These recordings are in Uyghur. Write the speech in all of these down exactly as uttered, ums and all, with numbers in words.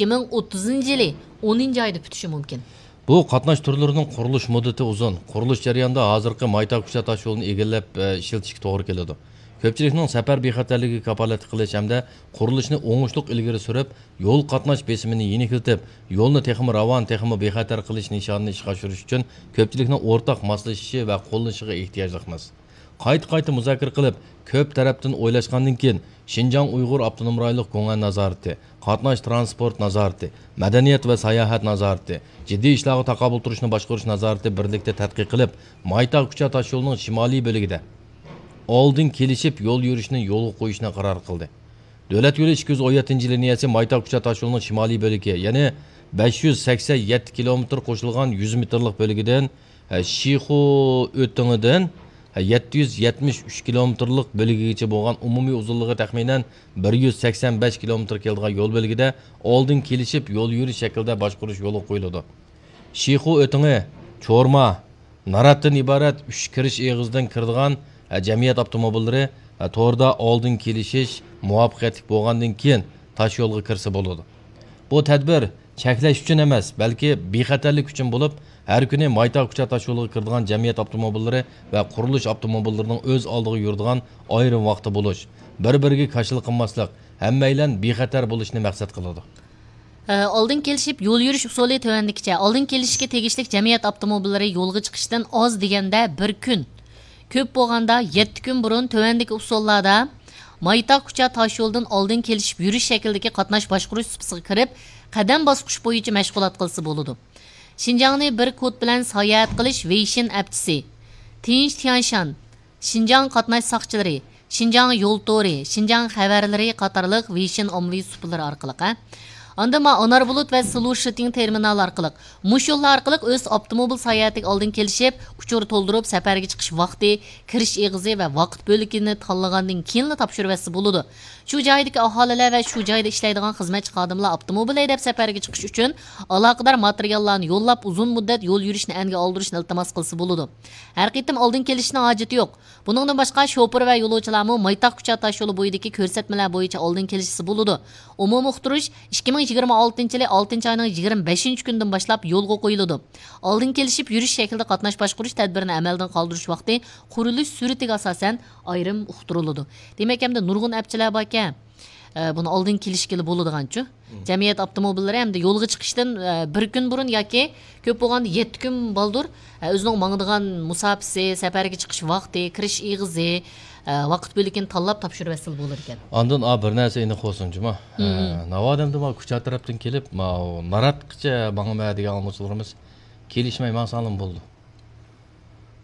ئىككى مىڭ ئوتتۇزىنچى يىلى ئونىنچى ئايدا پۈتۈشى مۇمكىن. بۇ قاتناش تۈرلىرىنىڭ قۇرۇلۇش مۇددىتى ئۇزۇن. قۇرۇلۇش جەريانىدا ھازىرقى مايتا كۇچا تاشيولىنى ئىگىلەپ، ئە، ئىشلىتىشكە توغرا كېلىدۇ. كۆپچىلىكنىڭ سەپەر بىخەتەرلىكىگە كاپالەتلىك قىلىش ھەمدە قۇرۇلۇشنى ئوڭۇشلۇق ئىلگىرى سۈرۈپ، يول قاتناش بېسىمىنى يېنىكلىتىپ، يولنى تېخىمۇ راۋان، تېخىمۇ بىخەتەر قىلىش نىشانىنى ئىشقا ئاشۇرۇش ئۈچۈن كۆپچىلىكنىڭ ئورتاق ماسلىشىشى ۋە قوللىشىغا ئېھتىياجلىقمىز. قايتا-قايتا مۇزاكىرە قىلىپ، كۆپ تەرەپتىن ئويلاشقاندىن كېيىن، شىنجاڭ ئۇيغۇر ئاپتونوم رايونلۇق گۇڭئەن نازارىتى، قاتناش تىرانسپورت نازارىتى، مەدەنىيەت ۋە ساياھەت نازارىتى، جىددىي ئىشلارغا تاقابىل تۇرۇشنى باشقۇرۇش نازارىتى بىرلىكتە تەتقىق قىلىپ، مايتا كۇچا تاشيولىنىڭ شىمالىي بۆلىكىدە ئالدىن كېلىشىپ يول يۈرۈشنى يولغا قويۇشنى قارار قىلدى. دۆلەت يولى ئىككى يۈز ئون يەتتىنچى لىنىيەسى مايتا كۇچا تاشيولىنىڭ شىمالىي بۆلىكى، يەنى بەش يۈز سەكسەن يەتتە كىلومېتىر قوشۇلغان يۈز مېتىرلىق بۆلىكىدىن، ھە، شىخۇ ئۆتىڭىدىن، ھە، يەتتە يۈز يەتمىش ئۈچ كىلومېتىرلىق بۆلىكىگىچە بولغان ئومۇمىي ئۇزۇنلۇقى تەخمىنەن بىر يۈز سەكسەن بەش كىلومېتىر كېلىدىغان يول بۆلىكىدە ئالدىن كېلىشىپ يول يۈرۈش شەكلىدە باشقۇرۇش يولغا قويۇلىدۇ. شىخۇ ئۆتىڭى، چورما، ناراتتىن ئىبارەت ئۈچ كىرىش ئېغىزىدىن كىرىدىغان، ھە، جەمئىيەت ئاپتوموبىللىرى، ھە، توردا ئالدىن كېلىشىش مۇۋەپپەقىيەتلىك بولغاندىن كېيىن تاشيولغا كىرسە بولىدۇ. بۇ تەدبىر چەكلەش ئۈچۈن ئەمەس، بەلكى بىخەتەرلىك ئۈچۈن بولۇپ، ھەر كۈنى مايتا كۇچا تاشيولىغا كىرىدىغان جەمئىيەت ئاپتوموبىللىرى ۋە قۇرۇلۇش ئاپتوموبىللىرىنىڭ ئۆز ئالدىغا يۈرىدىغان ئايرىم ۋاقتى بولۇش، بىر-بىرىگە كاشىلا قىلماسلىق، ھەممەيلەن بىخەتەر بولۇشنى مەقسەت قىلىدۇ. ئالدىن كېلىشىپ يول يۈرۈش ئۇسۇلى تۆۋەندىكىچە. ئالدىن كېلىشىشكە تېگىشلىك جەمئىيەت ئاپتوموبىللىرى يولغا چىقىشتىن ئاز دېگەندە بىر كۈن، كۆپ بولغاندا يەتتە كۈن بۇرۇن تۆۋەندىكى ئۇسۇللاردا مايتا كۇچا تاشيولىدىن ئالدىن كېلىشىپ يۈرۈش شەكلىدىكى قاتناش باشقۇرۇش سۇپىسىغا كىرىپ، قەدەم باسقۇچ بويىچە مەشغۇلات قىلسا بولىدۇ. شىنجاڭنى بىر كود بىلەن ساياھەت قىلىش ۋېيشىن ئەپچىسى، تىنچ تيەنشان، شىنجاڭ قاتناش ساقچىلىرى، شىنجاڭ يول تورى، شىنجاڭ خەۋەرلىرى قاتارلىق ۋېيشىن ئاممىۋى سۇپىلىرى ئارقىلىق، ھە. ئاندىن ما ئانار بۇلۇت ۋە سلۇ شىتىڭ تېرمىنالى ئارقىلىق، مۇشۇ يوللار ئارقىلىق ئۆز ئاپتوموبىل ساياھەتىگە ئالدىن كېلىشىپ، ئۇچۇر تولدۇرۇپ، سەپەرگە چىقىش ۋاقتى، كىرىش ئېغىزى ۋە ۋاقىت بۆلىكىنى تاللىغاندىن كېيىنلا تاپشۇرۇۋەتسە بولىدۇ. شۇ جايدىكى ئاھالىلەر ۋە شۇ جايدا ئىشلەيدىغان خىزمەتچى خادىملار ئاپتوموبىل ھەيدەپ سەپەرگە چىقىش ئۈچۈن ئالاقىدار ماتېرىياللارنى يوللاپ، ئۇزۇن مۇددەت يول يۈرۈشنى ئەنگە ئالدۇرۇشنى ئىلتىماس قىلسا بولىدۇ. ھەر قېتىم ئالدىن كېلىشنىڭ ھاجىتى يوق. بۇنىڭدىن باشقا، شوپۇر ۋە يولۇچىلارمۇ مايتاق كۇچا تاشيولى بويىدىكى كۆرسەتمىلەر بويىچە ئالدىن كېلىشسە بولىدۇ. ئومۇمىي ئۇقتۇرۇش ئىككى مىڭ يىگىرمە ئالتىنچى يىلى ئالتىنچى ئاينىڭ يىگىرمە بەشىنچى كۈنىدىن باشلاپ يولغا قويۇلىدۇ. ئالدىن كېلىشىپ يۈرۈش شەكلىدە قاتناش باشقۇرۇش تەدبىرىنى ئەمەلدىن قالدۇرۇش ۋاقتى قۇرۇلۇش سۈرئىتىگە ئاساسەن ئايرىم ئۇقتۇرۇلىدۇ. دېمەك، ئەمدى نۇرغۇن ئەپچىلەر باركەن، ئە، بۇنى ئالدىن كېلىشكىلى بولىدىغانچۇ؟ مم. جەمئىيەت ئاپتوموبىللىرى ھەمدە يولغا چىقىشتىن، ئە، بىر كۈن بۇرۇن ياكى كۆپ بولغاندا يەتتە كۈن بالدۇر، ئە، ئۆزىنىڭ ماڭىدىغان مۇساپىسى، سەپەرگە چىقىش ۋاقتى، كىرىش ئېغىزى، ئە، ۋاقىت بۆلىكىنى تاللاپ تاپشۇرۇۋەتسىلا بولىدىكەن. ئاندىن، ئا، بىر نەرسە ئېنىق بولسۇن جۇما. ئە، مم. ناۋادا ئەمدى مانا كۇچا تەرەپتىن كېلىپ، ماۋۇ ناراتقىچە ماڭىمەن دېگەن ئاڭلىغۇچىلىرىمىز كېلىشمەي ماڭساڭلىمۇ بولىدۇ.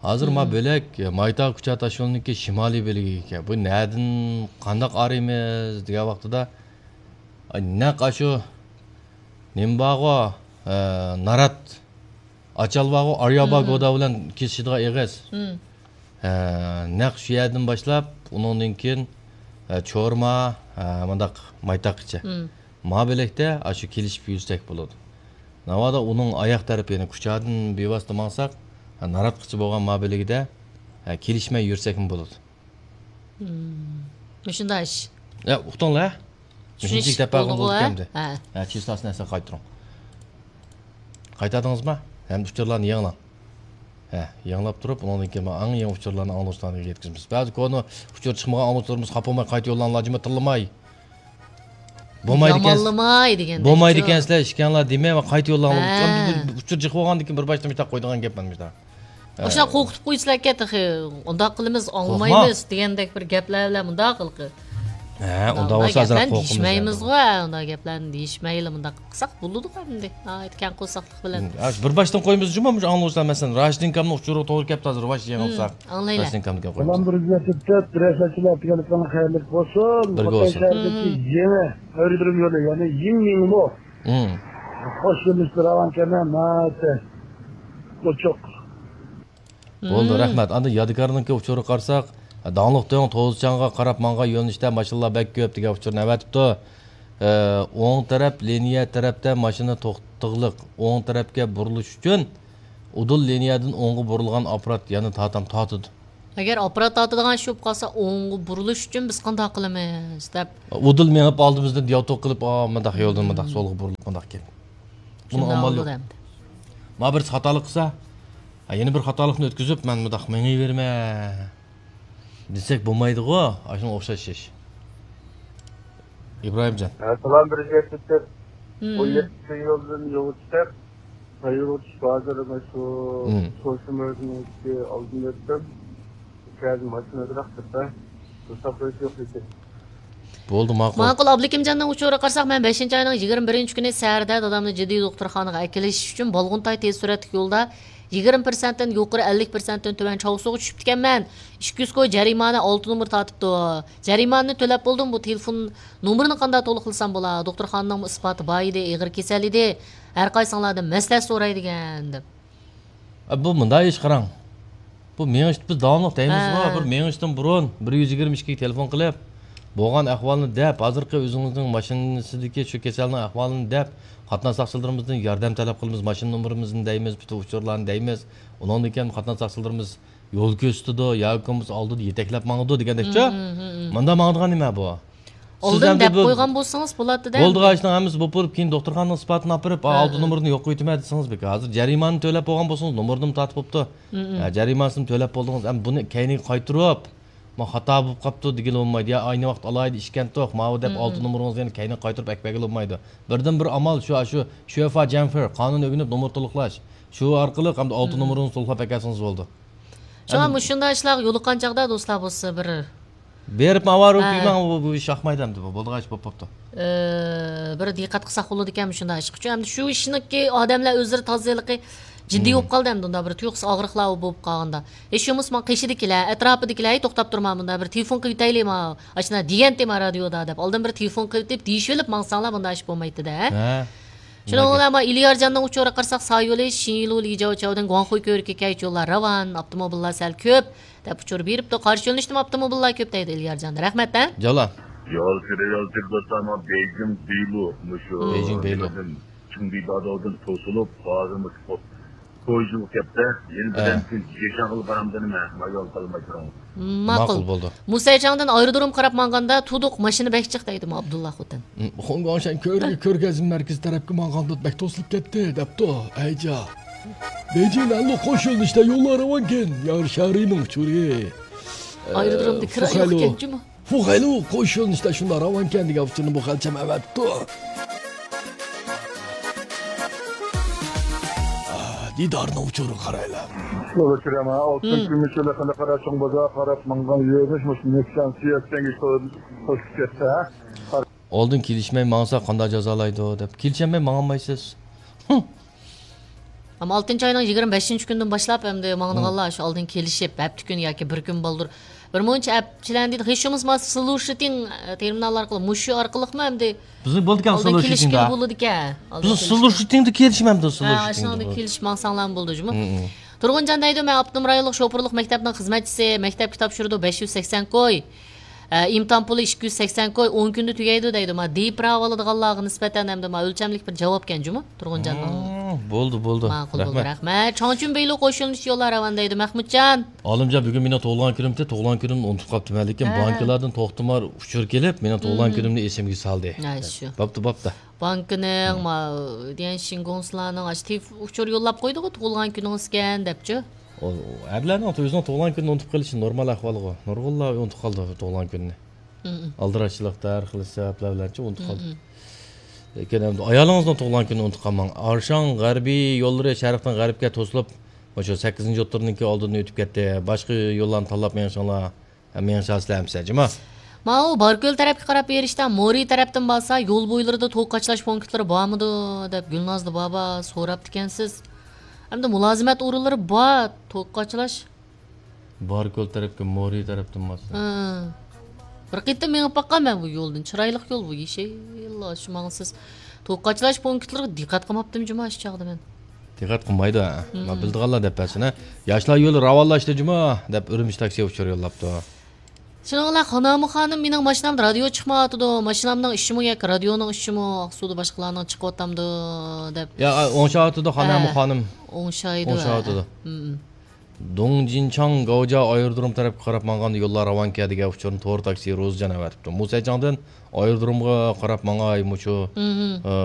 ھازىر ما مم. بۆلەك، مايتاغ كۇچا تاشيولىنىڭكى شىمالىي بۆلىكىگە ئىكەن. بۇ نەدىن قانداق ئارىيمىز دېگەن ۋاقتىدا، ئاي، نەق ئاشۇ نېمە بارغۇ، ئە، نارات، ئاچال بارغۇ، ئاريابا مم. گودا بىلەن كېسىشىدىغان ئېغىز. مم. ئە، نەق شۇ يەردىن باشلاپ، ئۇنىڭدىن كېيىن، ئە، چورما، ئە، مۇنداق مايتاغقىچە. مم. ما بۆلەكتە ئاشۇ كېلىشىپ يۈرسەك بولىدۇ. ناۋادا ئۇنىڭ ئاياق تەرىپى، يەنى كۇچادىن بىۋاسىتە ماڭساق، ناراتقىچە بولغان ما بۆلىكىدە، ھە، كېلىشمەي يۈرسەكمۇ بولىدۇ. مم. مۇشۇنداق ئىش. يا، ئۇقتۇڭلار؟ چۈشىنىشلىك مۇشۇنچىلىك دەپ بەرگەن بولدىغۇ، بولدۇق ھە؟ ئەمدى. ھە. ھە، چىستاسىنى ئەسلىگە قايتۇرۇڭ. قايتاردىڭىزمۇ؟ ھەم ئۇچۇرلارنى يېڭىلاڭ. ھە، يېڭىلاپ تۇرۇپ، ئۇنىڭدىن كېيىن ئەڭ يېڭى ئۇچۇرلارنى ئاڭلىغۇچىلارغا يەتكۈزىمىز. بەزى كونا ئۇچۇر چىقمىغان ئاڭلىغۇچىلىرىمىز خاپا بولماي قايتا يوللاڭلار، جىمما تىللىماي. بولمايدىكەن. يامانلىماي دېگەندەك. بولمايدىكەنسىلەر، ئىككىڭلار دېمەي، قايتا يوللاڭلار. ھە. ئۇچۇر جىق بولغاندىن كېيىن بىر باشتا مۇشۇنداق قويىدىغان گەپ مانا مۇشۇنداق. ھە. ئاشۇنداق قورقۇتۇپ قويسىلەركەن تېخى، ئۇنداق قىلىمىز، قورقما. ئاڭلىمايمىز دېگەندەك بىر گەپلەر بىلەن مۇنداق قىلقى. ھە، ئۇنداق بولسا ئازراق قورقىمىز. دېيىشمەيمىزغۇ، ھە، ئۇنداق گەپلەرنى دېيىشمەيلى، مۇنداق قىلساق بولىدىغۇ ئەمدى. ناھايىتى كەڭ قورساقلىق بىلەن. ھە، بىر باشتىن قويىمىز جۇمۇ، مۇشۇ ئاڭلىغۇچىلار، مەسىلەن، راشىدىن كامنىڭ ئۇچۇرىغا توغرا كەپتۇ ھازىر، ۋاش يېڭىلساق. ئاڭلايلى. راشىدىن كامنى قويىمىز. سالام بىر يۈز يەتتە تۆت، رەسەتچىلەر ئەتىگەنلىكىڭلار خەيرلىك بولسۇن. بىرگە بولسۇن. خىتاي شەھىرىدىكى يېڭى ئايرودروم يولى، يەنى يىڭمىڭلۇ. مم. خوش كېلىپسىز، راۋان كەمە، ناھايىتى ئوچۇق. بولدى، مم. رەھمەت. ئاندىن يادىكارنىڭكى ئۇچۇرىغا قارىساق، داڭلىق دۆڭ توزىچاڭغا قاراپ ماڭغان يۆنىلىشتە ماشىنىلار بەك كۆپ دېگەن ئۇچۇرنى ئەۋەتىپتۇ. ئە، ئوڭ تەرەپ لىنىيە تەرەپتە ماشىنا توختىغلىق. ئوڭ تەرەپكە بۇرۇلۇش ئۈچۈن ئۇدۇل لىنىيەدىن ئوڭغا بۇرۇلغان ئاپپارات يەنە تارتام تارتىدۇ. ئەگەر ئاپپارات تارتىدىغان ئىش بولۇپ قالسا، ئوڭغا بۇرۇلۇش ئۈچۈن بىز قانداق قىلىمىز دەپ. ئۇدۇل مېڭىپ ئالدىمىزدىن دىيالوگ قىلىپ، ئا، مۇنداق يولدىن مۇنداق سولغا بۇرۇلۇپ مۇنداق كېلىپ. بۇنىڭ ئامالى يوق. ما بىرسى خاتالىق قىلسا، ھە، يەنە بىر خاتالىقنى ئۆتكۈزۈپ، مەن مۇنداق مېڭىۋېرىمەن دېسەك بولمايدىغۇ، ئاشۇنىڭغا ئوخشاش ئىش. ئىبراھىمجان. ئەسسالام، بىر گەپ ئېيتىپ. ئون يەتتىنچى يولدىن يولغا چىقىپ، يولغا چۈشۈپ، ھازىر مانا شۇ شوشىمىزنىڭكى ئالدىنى ئۆتتۈم. ئىچەردە ماشىنا ئازراق تۇرسا، توساپ قويۇش يوق لېكىن. بولدى، ماقۇل. ماقۇل، ئابلىكىمجاننىڭ ئۇچۇرىغا قارىساق، مەن بەشىنچى ئاينىڭ يىگىرمە بىرىنچى كۈنى سەھەردە دادامنى جىددىي دوختۇرخانىغا ئەكېلىش ئۈچۈن بالغۇنتاي تېز سۈرئەتلىك يولدا يىگىرمە پىرسەنتتىن يۇقىرى، ئەللىك پىرسەنتتىن تۆۋەن چاۋسۇغا چۈشۈپتىكەنمەن. ئىككى يۈز كوي جەرىمانە ئالتە نومۇر تارتىپتۇ. جەرىمانىنى تۆلەپ بولدۇم، بۇ تېلېفون نومۇرىنى قانداق تولۇقلىسام بولا؟ دوختۇرخانىنىڭمۇ ئىسپاتى بار ئىدى، ئېغىر كېسەل ئىدى. ھەر قايسىڭلاردىن مەسلىھەت سوراي دېگەن، دەپ. ئە، بۇ مۇنداق ئىش قاراڭ. بۇ مېڭىشتا بىز داۋاملىق دەيمىزغۇ، ھە، بىر مېڭىشتىن بۇرۇن بىر يۈز يىگىرمە ئىككىگە تېلېفون قىلىپ، بولغان ئەھۋالنى دەپ، ھازىرقى ئۆزىڭىزنىڭ ماشىنىسىدىكى شۇ كېسەلنىڭ ئەھۋالىنى دەپ، قاتناش ساقچىلىرىمىزدىن ياردەم تەلەپ قىلىمىز، ماشىنا نومۇرىمىزنى دەيمىز، پۈتۈن ئۇچۇرلارنى دەيمىز. ئۇنىڭدىن كېيىن قاتناش ساقچىلىرىمىز يول كۆرسىتىدۇ ياكى بولمىسا ئالدىدا يېتەكلەپ ماڭىدۇ دېگەندەكچۇ؟ مم، مم، مم. مۇنداق ماڭىدىغان نېمە بۇ؟ سىز ئالدىن ئەمدى دەپ بۇ قويغان بولسىڭىز بولاتتى-دە. بولىدىغان ئىشنىڭ ھەممىسى بولۇپ بولۇپ، كېيىن دوختۇرخانىنىڭ ئىسپاتىنى ئاپىرىپ، ئا، ھە، ئالتە نومۇرنى يوق قويۇۋېتىمەن دېسىڭىز بىكار. ھازىر جەرىمانىنى تۆلەپ بولغان بولسىڭىز، نومۇرنىمۇ تارتىپ بوپتۇ. مم، مم. ھە، جەرىمانىسىنى تۆلەپ بولدىڭىز. ئەمدى بۇنى كەينىگە قايتۇرۇپ، ما خاتا بولۇپ قاپتۇ دېگىلى بولمايدۇ. يا ئاينى ۋاقىت ئالايىتە ئىشكەنتۇق، ماۋۇ دەپ مم، ئالتە مم. نومۇرىڭىزنى يەنە كەينىگە قايتۇرۇپ ئەكىپ بەرگىلى بولمايدۇ. بىردىن بىر ئامال شۇ، شۇ شۆفا جەنفېر قانۇن ئۆگىنىپ نومۇر تولۇقلاش. شۇ ئارقىلىق ئەمدى ئالتە مم، مم. نومۇرىڭىزنى تولۇقلاپ ئەكەلسىڭىز بولىدۇ. شۇڭا ئەمدى مۇشۇنداق ئىشلارغا يولۇققان چاغدا دوستلار بولسا بىر بېرىپ ماۋارۇ ھە. كۈيمەڭ، بۇ، بۇ ئىش ياقمايدۇ ئەمدى، بۇ بولىدىغان ئىش بولۇپ بوپتۇ. ئى، بىر دىققەت قىلساق بولىدىكەن مۇشۇنداق ئىشقا. چۈنكى ئەمدى شۇ ئىشنىڭكى ئادەملەر ئۆزلىرى تازا ھېلىقى جىددىي مم. بولۇپ قالدى ئەمدى ئۇنداق بىر تۇيۇقسىز ئاغرىقلار بولۇپ قالغاندا. ھېچ بولمىسا ماڭا قېشىدىكىلەر، ئەتراپىدىكىلەر، ھەي توختاپ تۇرما مۇنداق بىر تېلېفون قىلىۋېتەيلى ما، ئاشۇنداق دېگەنتى ما رادىيودا دەپ ئالدىن بىر تېلېفون قىلىۋېتىپ دېيىشىۋېلىپ ماڭساڭلار بۇنداق ئىش بولمايتتى-دە. ھە. شۇنىڭ بىلەن ما ئېلىيارجاننىڭ ئۇچۇرىغا قارىساق، سايولى، شىنلۇ، لىجاۋچاۋدىن گۇاڭخۇي كۆۋرۈكىگە كەلگۈچە يوللار راۋان، ئاپتوموبىللار سەل كۆپ، دەپ ئۇچۇر بېرىپتۇ. قارشى يۆنىلىشتىمۇ ئاپتوموبىللار كۆپ دەيدۇ ئېلىيارجان. رەھمەت، ھە؟ جالا. يولچى، يولچى دوستلار، ما بېيجىڭ بېيلۇ، مۇشۇ بېيجىڭ بېيلۇ. نېمىدىن، چىڭبىداداۋدىن توسۇلۇپ، ھازىر مۇشۇ پويىزغا كەپتە، يەنە ھە. بىردەم كېيىن يېشاڭغىلا بارامدىن مەن، ما يول قالماي تۇرۇڭ. ماقۇل. ماقۇل بولدى. مۇسەيچاڭدىن ئايرودروم قاراپ مانغاندا تۇدۇق ماشىنا بەك جىق دەيدۇ ما ئابدۇللا خوتەن. خۇڭگۇاڭشەن كۆرگە كۆرگەزمە مەركىزى تەرەپكە ماڭغاندا بەك توسۇلۇپ كەتتى دەپتۇ. ئەيجا. بېيجىڭ نەنلۇ قوش يۆنىلىشتە يوللار راۋانكەن، يار شارىنىڭ ئۇچۇرى. ئايرودرومدا كىرا يوقكەن جۇمۇ. فۇخەيلۇ قوش يۆنىلىشتە شۇنداق راۋانكەن دېگەن ئۇچۇرنى بۇ خەلچەم ئەۋەتتۇ. دىدارنىڭ ئۇچۇرىغا قارايلى. يول ئۇچۇرى ئەمە ئالتىنچى مۇشۇ لەقەمدە قارا چوڭ بازار قاراپ ماڭغان يۆنىلىش مۇشۇ نېكسان سىيەتكەنگە توسۇپ كەتتى، ھە؟ ئالدىن كېلىشمەي ماڭسا قانداق جازالايدۇ دەپ. كېلىشەلمەي ماڭالمايسىز. ئەمما ئالتىنچى ئاينىڭ يىگىرمە بەشىنچى كۈنىدىن باشلاپ ئەمدى ماڭىدىغانلار شۇ ئالدىن كېلىشىپ، ھەپتە كۈن ياكى بىر كۈن بالدۇر بىر مۇنچە ئەپ چىلەن دېدى. ھېچ بولمىسا سلۇشىتىڭ تېرمىنال ئارقىلىق، مۇشۇ ئارقىلىقمۇ ئەمدى بىزنىڭ بولىدىكەن ئالدىن كېلىشكىلى بولىدىكەن. بىزنىڭ سلۇشىتىڭدا كېلىشمەمدۇ، ھە، سلۇشىتىڭدا كېلىشىپ ماڭساڭلارمۇ بولىدۇ جۇمۇ. تۇرغۇنجان دەيدۇ، مەن ئاپتونوم رايونلۇق شوپۇرلۇق مەكتەپنىڭ خىزمەتچىسى، مەكتەپكە تاپشۇرىدۇ، بەش يۈز سەكسەن كوي. ئە، ئىمتىھان پۇلى ئىككى يۈز سەكسەن كوي، ئون كۈندە تۈگەيدۇ دەيدۇ. ما دىپراۋا ئالىدىغانلارغا نىسبەتەن ئەمدى ما ئۆلچەملىك بىر جاۋابكەن جۇمۇ، تۇرغۇنجاننىڭ. بولدى، بولدى. ماقۇل بولدى، رەھمەت. چاڭچۈن بېيلۇ قوش يۆنىلىش يوللار راۋان دەيدۇ، مەخمۇتجان. ئالىمجان، بۈگۈن مېنىڭ تۇغۇلغان كۈنۈمتى، تۇغۇلغان كۈنۈمنى ئۇنتۇپ قاپتىمەن، لېكىن بانكىلاردىن توختىمار ئۇچۇر كېلىپ، مېنىڭ تۇغۇلغان كۈنۈمنى ئېسىمگە سالدى. ھە، شۇ. بوپتۇ، بوپتۇ. بانكىنىڭ، ما، ديەنشىنگوڭسىلارنىڭ ئاشۇ تېلېف-، ئۇچۇر يوللاپ قويدىغۇ، تۇغۇلغان كۈنىڭىزكەن دەپچۇ. ئۇ ئەرلەرنىڭ ئۆزىنىڭ تۇغۇلغان كۈنىنى ئۇنتۇپ قېلىشى نورمال ئەھۋالغۇ. نۇرغۇنلار ئۇنتۇپ قالىدۇ تۇغۇلغان كۈنىنى. ئالدىراشچىلىقتا، ھەر خىل سەۋەبلەر بىلەنچۇ ئۇنتۇپ قالىدۇ. لېكىن ئەمدى ئايالىڭىزنىڭ تۇغۇلغان كۈنىنى ئۇنتۇپ قالماڭ. ئارشاڭ غەربىي يوللىرى شەرقتىن غەربكە توسۇلۇپ، مۇشۇ سەككىزىنچى ئوتتۇرىنىڭكى ئالدىدىن ئۆتۈپ كەتتى. باشقا يوللارنى تاللاپ مېڭىشىڭلار. مېڭىشاسىلەر ئەمىسە جۇمۇ. ماۋۇ باركۆل تەرەپكە قاراپ بېرىشتا مورى تەرەپتىن بارسا يول بويلىرىدا توك قاچىلاش پونكىتلىرى بارمىدۇ دەپ گۈلنازلى بابا سوراپتىكەنسىز. ئەمدى مۇلازىمەت ئورۇنلىرى بار، توك قاچىلاش. باركۆل تەرەپكە مورى تەرەپتىن بارسا. ھە. بىر قېتىم مېڭىپ باققان مەن بۇ يولدىن. چىرايلىق يول بۇ، يېشىل، شۇ ماڭىسىز. توك قاچىلاش پونكىتلىرىغا دىققەت قىلماپتىم جۇمۇ شۇ چاغدا مەن. دىققەت قىلمايدۇ، ھە. ما بىلىدىغانلار دەپ بەرسۇن، ھە. ياشلار يولى راۋانلاشتى جۇمۇ دەپ ئۈرۈمچى تاكسى ئۇچۇر يوللاپتۇ. شۇنىڭ بىلەن خانامۇ خانىم، مېنىڭ ماشىنامدا رادىيو چىقمايۋاتىدۇ. ماشىنامنىڭ ئىشىمۇ ياكى رادىيونىڭ ئىشىمۇ، ئاقسۇدا باشقىلارنىڭ چىقىۋاتامدۇ دەپ. يا، ئوڭشاۋاتىدۇ خانامۇ خانىم. ئوڭشايدۇ، ئوڭشاۋاتىدۇ. دۇڭجىنچاڭ گاۋجيا ئايرودروم تەرەپكە قاراپ ماڭغاندا يوللار راۋانكەن دېگەن ئۇچۇرنى تور تاكسى روزىجان ئەۋەتىپتۇ. مۇسەيجاڭدىن ئايرودرومغا قاراپ ماڭاي مۇشۇ، ئە،